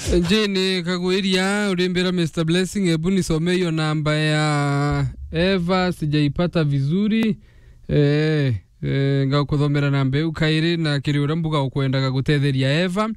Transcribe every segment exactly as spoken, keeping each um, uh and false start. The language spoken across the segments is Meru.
Jane Kagwiria, urimbira Mister Blessing, ebu nisome hiyo namba ya Eva, sijaipata vizuri. Eh, eh, ngakuthomera namba iu kairi, na kiri uria mbuga ukwendaga gutetheria Eva,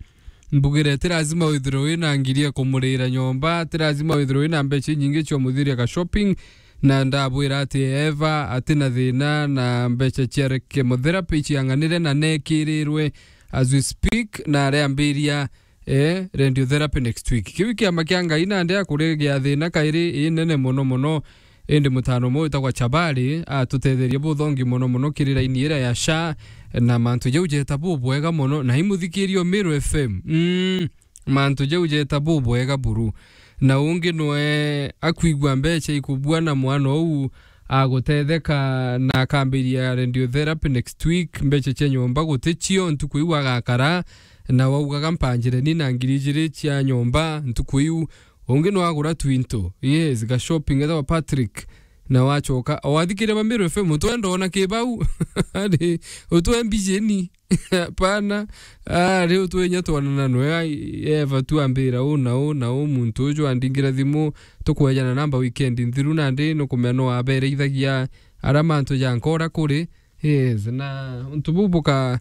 mbugire ti lazima withirwe wina ngiri ya kumurira nyomba, ti lazima withirwe wina mbeca inyingi cia umuthiria ga shopping, na ndabwira ati Eva atina thina na mbeca cia chemotherapy ciang'anire na nekirirwe as we speak, na areambiria eh, radiotherapy next week. Kiu kiama kia Ngai nandi akuregia thina kairi inene mono mono, indi mutano umwe witagwa Chabari atutetherie buthongi mono mono kiri raini iria ya sha, na mantu jau jeta bubwega mono, na imuthikirio Meru F M. Mm, mantu jau jeta bubwega buru. Na ungi nwe akwigua mbeca ikubua na mwana uu agutetheka na akambiria radiotherapy next week, mbeca cia nyomba guticio, ntuku iu agakara, na waugaga mpanjire ni na ngiri ijiri cia nyomba ntuku iu. Ungi no agura twinto. Yes, ga shopping ethawa Patrick. Na wachoka, wathikiria Mamiru F M, utwenda ona kibau. Ari, utwe mbijeni. Pana. Ari, utwe nya twanana nwe, ai, Eva tu ambira u na u na u, muntu uju andingira thimu, tukwejana namba weekend nthiru nandi, nukumenya no abereithagia ara mantu ja nkora kuri. Yes, na untu buu buka-,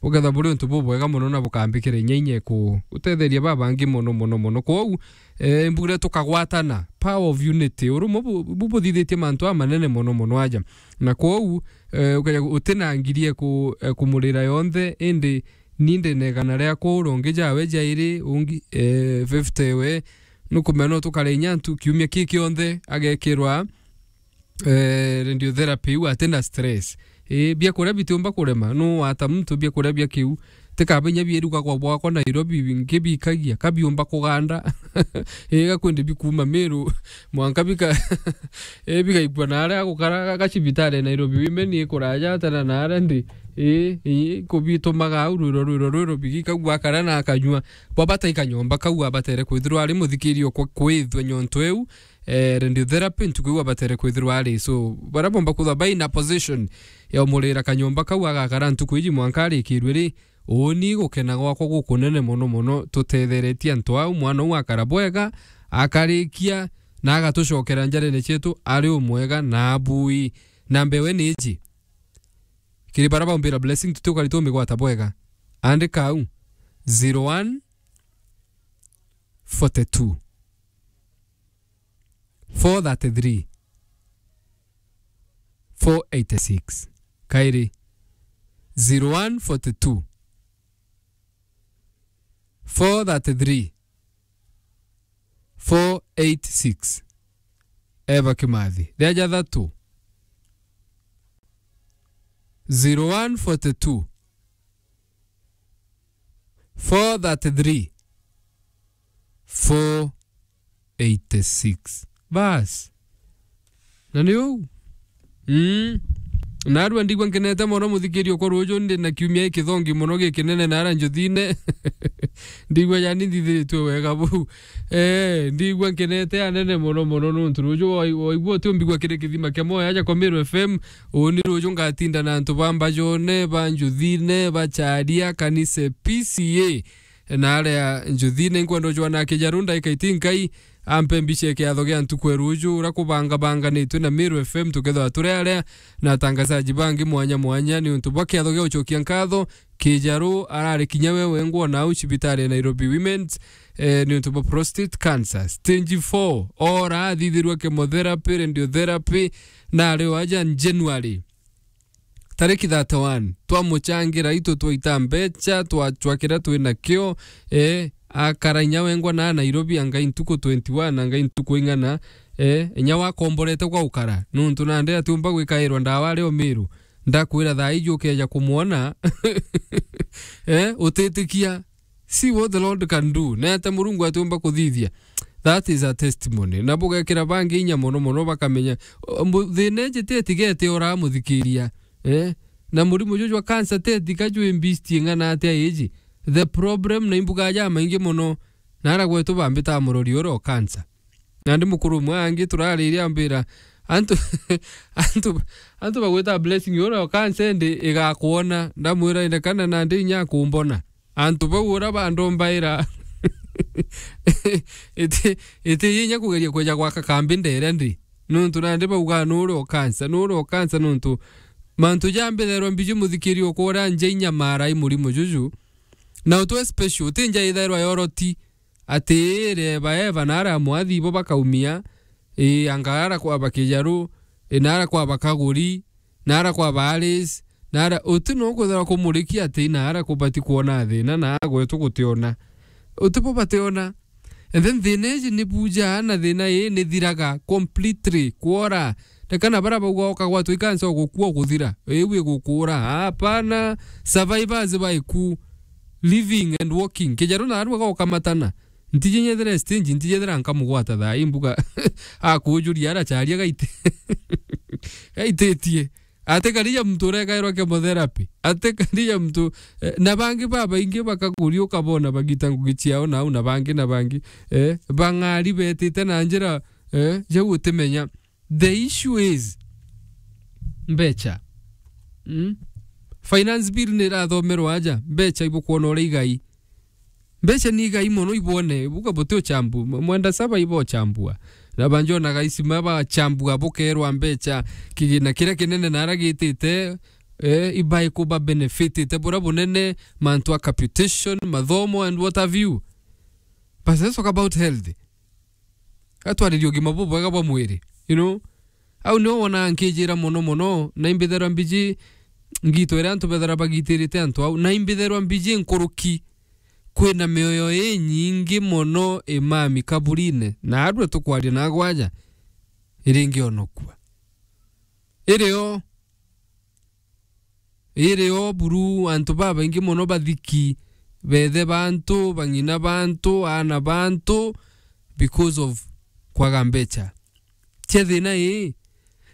bukethwa buri untu bubwega mono na bukambikira inya inya ku-, gutetheria babangi mono, mono, mono. Kwou, eh, mbugire tukagwatana, power of unity. Urumwe bu-, bu-, buthithitie mantu amanene mono, mono aja. Na kwou, eh, ukeja gu-, utina ngiri eku-, ekumurira yonthe, indi ni ndina igana riakwa uria ungi jawe jairi, ungi, eh, fifty we, nukumenya no tukare inya ntu kiumia ki kionthe agekirwa eh, radiotherapy iu atina stress. Eh, biakuria bitiumba kurema, nu wata muntu biakuria bia kiu. Tikaba inya bieruga kwa bwakwa Nairobi, bingi bikagia, kabiumba kuganda. Eh, gakwende bikuma Meru, mwanka bika-, eh, bigaikua na aria agukara ga-, gacibitari Nairobi Women ikuraja atana na aria ndi. Eh, eh, kubitumaga au rwiro, rwiro, rwiro, bigikagua akara na akanyua. Bwabata ikanyomba kau abatere kwithirwa ari muthikirio kwa kwithwa nyonto iu, eh, radiotherapy, ntuku iu abatere kwithirwa ari. So, baria bomba kwithwa bai na position ya umurira kanyomba kau agakara ntuku iji mwanka arikirwe ri, uuni gukena gwakwa gukunene mono mono, tutetheretie antu au, mwana uu akara bwega, akarikia, na agatucokera njarene cietu ari umwega na abui. Na mbewe ni iji. Kiri baria baumbira blessing, tuti ukari tumigwata bwega. Andika au, zero one forty two. Four thirty-three, four eighty-six. Kairi, zero one forty two, four thirty-three, four eighty-six. Eva Kimathi. Ria jathatu, zero one forty two, four thirty-three, four eighty-six. Bas. Na ni uu. Mm. Narua ndigua nkenete mono, muthikirio, kwa ruuju ndi na kiumia gikithongi mono gikinene nara njuthine. Ndigua yani nthithiritue wega buu. Eh, ndigua nkenete anene mono mono nuntu ruuju wai-, waigua utiumbigua kiri kithima kia mwoyo aja kwa Meru F M. Uuni ruuju ngatinda na antu ba Mbajone, ba Njuthine, ba Charia, Kanise, P C A. Na aria Njuthine, nkwenda ujwana Kijaru ndaika itinkai, ampe mbica ya kiatho gia ntuku ya ruuju, uria kubangabanganitwe na Meru F M, tukethwa turi aria na atangazaji bangi mwanya mwanya, ni untu bwa kiatho gia ucokia nkatho. Kijaru arari kinya we wengwa na au cibitari ya Nairobi Women's, eh, ni untu bwa prostate cancer. Stage four, ora athithirwa chemotherapy, radiotherapy, na ari o aja January. Tariki thirty-one, twamuchangira itu twaita mbecha, twachwa kiria twi nakio, eh, akara inya wengwa na Nairobi, angai ntuku twenty-one, angai ntuku ing'ana, eh, inya wakomborete gwa ukara. Nuntu nandi atiumba gwikairwa ndawa ari o Meru. Ndakwira thaa iji ukeja kumwona, eh, utitikia. See what the Lord can do. Nete Murungu atiumba kuthithia. That is a testimony. Na bugekira bangi inya mono mono bakamenya, o, mu-, thina iji ti eti gete ora muthikiria. Eh? Na murimo juju jwa cancer ti eti ka jwi mbistie ng'ana atia iji. The problem na imbuga ja maingi mono. Nara gwetu bambita murori ura o cancer. Nandi mukuru umwe angi turariria ambira, antu, antu, antu bagwita blessing ura o cancer ndi igakwona. Ndamwira, ine kana nandi inya akumbona. Antu bau ura bandombaira. Iti, iti inya kugeria kweja gwaka kambi ndere ndi. Nontu nandi baugaa nuri o cancer, nuri o cancer nontu mantu ja mbithairwa mbiji muthikiri okwa uria nja inyamara i murimo juju. Na utwe special, uti nja ithairwa yoroti. Ati iri eba eba nara mwathi ibo bakaumia, ii, anga ara kwaba Kijaru, ii, nara kwaba Kaguri, nara kwaba Alice, nara, uti no kwithirwa kumurikia ati nara kubati kwona thina na gwetu gutiona. Uti bo bationa. And then thina iji ni buja na thina ii ni thiraga completely, kwora. Rekana bara bauga ukagwatwa ikansa ugukua uguthira. Iu igukura. Hapana, survivors ba iku. Living and walking. Kijaru na arua gokamatana. Ntiji nyethira stage, ntiji ethira nkamugwata thaa ii mbuga. Akujuria aracharia gaite. Gaititie. Ati karija mtu urekairwa chemotherapy. Ati karija mtu, eh, na bangi babaingi bakakuriuka bona bagita ngugi ciao nau na bangi na bangi. Eh, bang'ari betite na njira, eh, jau utimenya. The issue is mbecha. Mm? Finance bill ni irathomerwa aja, mbecha ibukwona uria igai. Mbecha ni igai mono ibwone, buga buti uchambu, m-, mwenda saba ibo uchambua. Na banjona gaisima bachambua bukerwa mbecha, kigina kiria kinene nara gitite, eh, ibai kuba benefitite, bura bunene, mantu a capitation, mathomo and what have you. But let's talk about health. Atwaririe ugima bubwega bwa mwiri, you know? Au nio wonaa nkijira mono mono, na imbitherwa mbiji ngito iria antu bethera bagitirite antu au, na imbitherwa mbiji nkuruki. Kwina mioyo inyingi mono imami kaburine, na arua tukwaria na agwaja, iringionokua. Irio Iri o buru, antu babaingi mono bathiki, bethe bantu, bang'ina bantu, aana bantu, because of kwaga mbecha. Cia thina ii.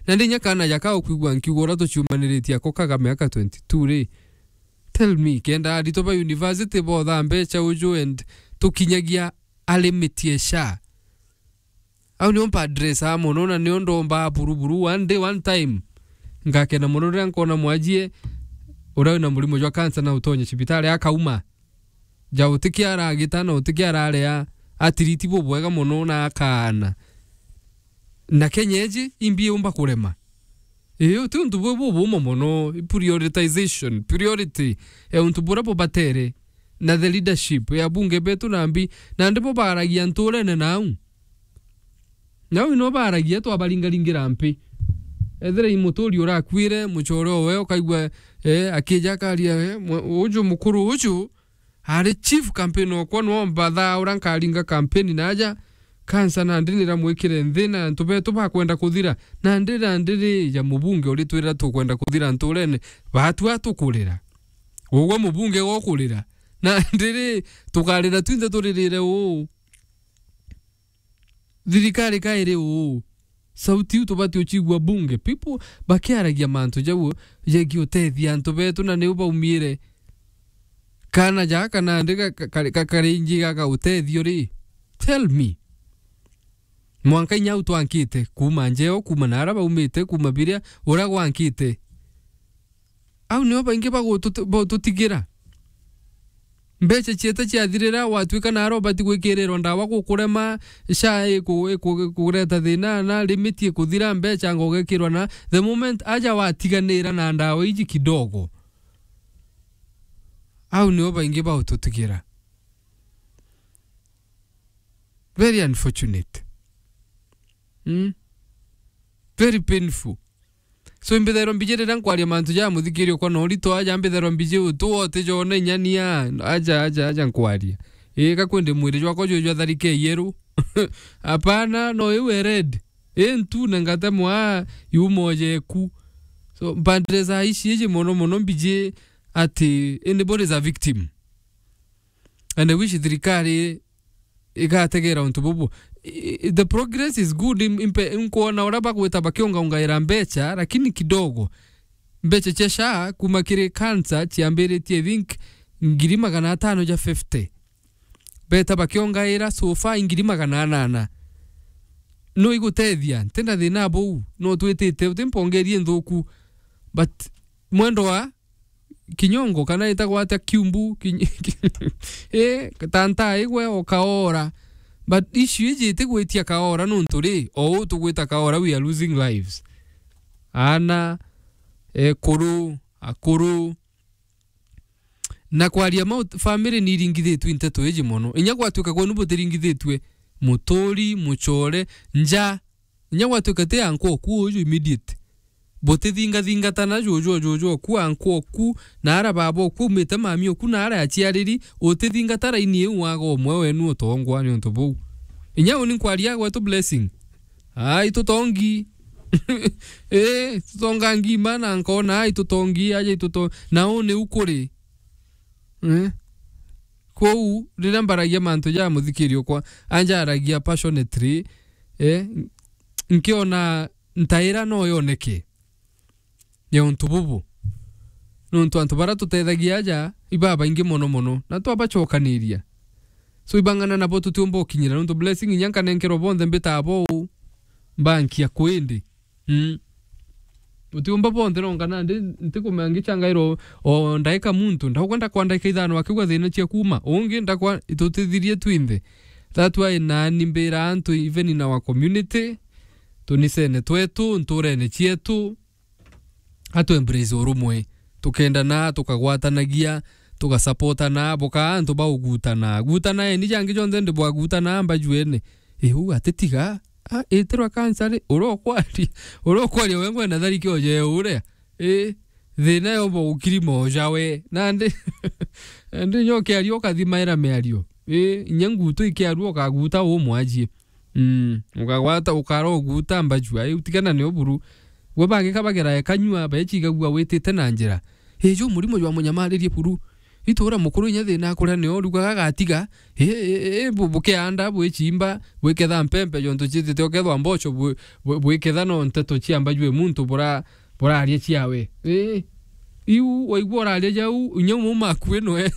Na ndi inya kaana jaka ukwigua nkiuga uria tuciumaniritie ako kaga miaka twenty-two ri. Tell me, kenda aritwa ba university bothaa mbecha uju and tukinyagia a limit ya SHA. Au nio mpadressaa mono na nio ndombaa buruburu one day, one time. Ngakena mono riria nkona mwajie uria wina murimo jwa cancer na utonye cibitari akauma. Ja utiki aragita na utiki araria, atiriti bubwega mono na akaana. Na Kenya iji imbi yumba kurema. Ii, uti untu bwi bubuma mono, prioritization, priority ya untu buria bubatere, na the leadership ya bunge betu na mbi, na ndibo baragia nturene nau. Nau ino baragia twabaringaringira mpi. Ethira i muturi urakuire, muchore owe ukaigua, eh, akija akaria, eh, mwe-, uju mukuru uju, ari chief campaign okwa no mbathaa uria nkaringa campaign naja, kansa nandi niramwikire nthi na antu betu bakwenda kuthira, nandi nandi ri ja mubunge uritwira tukwenda kuthira nturene, batua tukurira. Ugwe mubunge gokurira, nandi ri tukarira twinthe turirire uu. Thirikari ka iri uu? Sauti iu tubati ucigua bunge. People bakiaragia mantu jau jegie utethia antu betu na niu baumiire. Kana jaka nandi ga-, ka-, ka-, ka-, karingi gaga utethio ri? Tell me. Mwanka inya au twankite, kuuma njeo, kuuma naara baumite, kuuma biria, uria gwankite. Au nio baingi bagututi-, bagututigira. Mbecha ciete ciathirira, watwika naara ubati gwikirirwa ndawa gukurema, SHA iku-, iku-, ikureta thina, na limit ikuthira, mbecha anga ugekirwa na, the moment aja watiganira na ndawa iji kidogo. Au nio baingi bagututigira. Very unfortunate. Mm? Very painful. So, imbithairwa mbiji riria nkwaria mantu ja muthikiri okwa na urito aja, mbithairwa mbiji utu wote jona inya nia, aja, aja, aja nkwaria. Ii, ka kwende mwiri jwakwa jwi jwa tharike yeru. Hapana, no iu e red. Ii ntu na ngatemwa yuma ojeku. So, mpandire saa ici iji mono mono mbiji ati anybody is a victim. And I wish thirikari igategera untu bubu. I, i, the progress is good, im-, impe-, nkwona uria bagwita bakiungaungaira mbecha, lakini kidogo. Mbecha cia SHA kuma kiri cancer ciambiritie, I think, ngiri magana atano ja fifty. Beta bakiongaira so far ngiri magana anana. No igutethia, ntina thina buu, no twitite, uti mpongerie nthuku, but mwendwa, Kinyongo, kana itagwa atia, Kiumbu, Kiny-, eh, Tantaigwe, o Kaora. But issue iji itigwitia Kaora nontu ri, o uu tugwita Kaora, we are losing lives. Aana, ekuru, akuru. Na kwaria mau, family ni iringithitue nteto iji mono. Inya gwatuika kwenu butiringithitue, muturi, muchore, nja, inya gwatuika ti ankwa oku uju immediate. Butithingathingatana juju, juju oku, ankwa oku, na ara baba oku, aumite mami oku, na ara aciariri, utithingata raini iu waga umwe wenu utongwa ni untu buu. Inya uni nkwaria gwetu Blessing. Ai, tutongi. Eh, tutonga ngima na nkona, ai, tutongi, aja ituto-, na uu niu kuri. Eh? Kwou, riria mbaragia mantu ja muthikiri okwa, anjaragia passionately, eh, nkiona ntaira no yoneke ya untu bubu. Nontu antu baria tutethagia aja, ibabaingi mono mono, na twabacokaniria. So, ibang'ana nabo tutiumba ukinyira, nontu Blessing inya nkanenkerwa bonthe mbitaa bo uu, mbankia kwindi. Mm. Utiumba bonthe nonga nandi ntikumea ngichangairwa o, o ndaika muntu, ndaugwa ndakwa ndaika ithano akigwa thina cia kuuma. Ungi ndakwa itutithirie twinthe. That why nani mbira antu even in our community, tunisene twetu, nturene cietu, atu embrace urumwe. Tukendana, tukagwatanagia, tugasupportana, bukaa antu ba ugutana. Gutana eni jangi jonthe ndi bwagutana mbajuene. Ii, uu atitiga. Ah, itirwa cancer ri? Uria ukwaria, uria ukwaria we ngwenda thariki oje uria. Ii, thina yo bo ukiri moja we. Nandi, nandi nyo kiario ukathima era miario. Ii, inya ngutu ikiarua ukaguta umwajie. Mm, ukagwata, ukara uguta mbajua, ii, utigana nio buru. Gwe bangi kabagera ekanyua, baechigagua witite na njira. Ii, ju murimo jwa munyamaririe buru. Itura mukuru inya thina akuria nio, rugaga gatiga. Ii, ii, ii, bu-, bukianda, bwichimba, bwiketha mpempe, jontu chitite ukethwa mbocho, bu-, bu-, bwiketha no nteto cia mbajua muntu bura-, buraria ciawe. Ii, iu, waigua uraria jau, inya umwe maku inwe.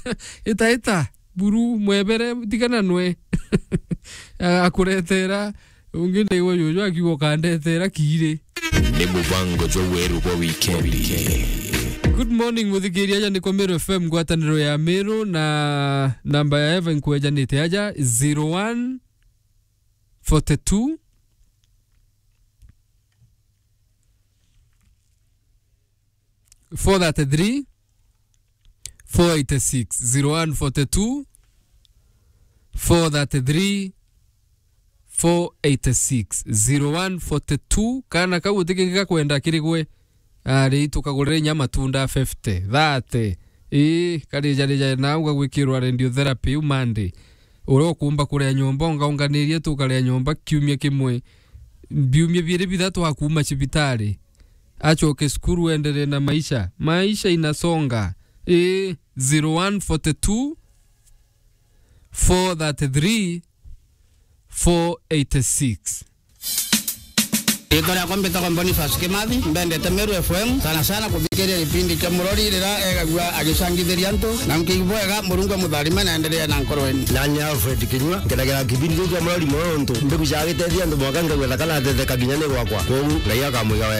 Ita, ita. Buru, mwebere, tigana nwe. A-, akuretera, ungi ndaigua juju akiuga ukandetera kiiri. Ni mubango jwa weru bwa wikendi. Good morning, muthikiria, aja ni kwa Meru F M, ngwataniro ya Meru, na namba ya Eva nkwejanite aja, zero one forty two, four thirty-three, four eighty-six, zero one forty-two, four thirty-three, four eighty-six, zero one forty-two. Kana kau uti kingi gakwenda kiri gwe, ari tukagurire inya matunda fifty, thirty. Ii, karijarija nau gagwikirwa radiotherapy iu Monday. Uria ukumba kuria nyomba, ungaunganirie tukaria nyomba kiumia kimwe. Biumia biiri bithatu akuuma cibitari. Acoke cukuru, endelee na maisha. Maisha inasonga. Ii, zero one forty-two, four thirty-three, four eighty-six. Riitwa riakwa mbitagwa Boniface Kimathi, mbendete Meru F M, sana sana kuthikiria gipindi kia Murori riria egagua agicangithiria antu, na nkiigua bwega, Murungu amutharime na endelee na nkoroeni. Nani Alfred Kinyua, nkenagera kipindi kiu kia Murori mono nontu mbigucaga gitethia antu mwanka ngagua thaka na thetheka nginya ni gwakwa. Kwogu Ngai akamwiga wega.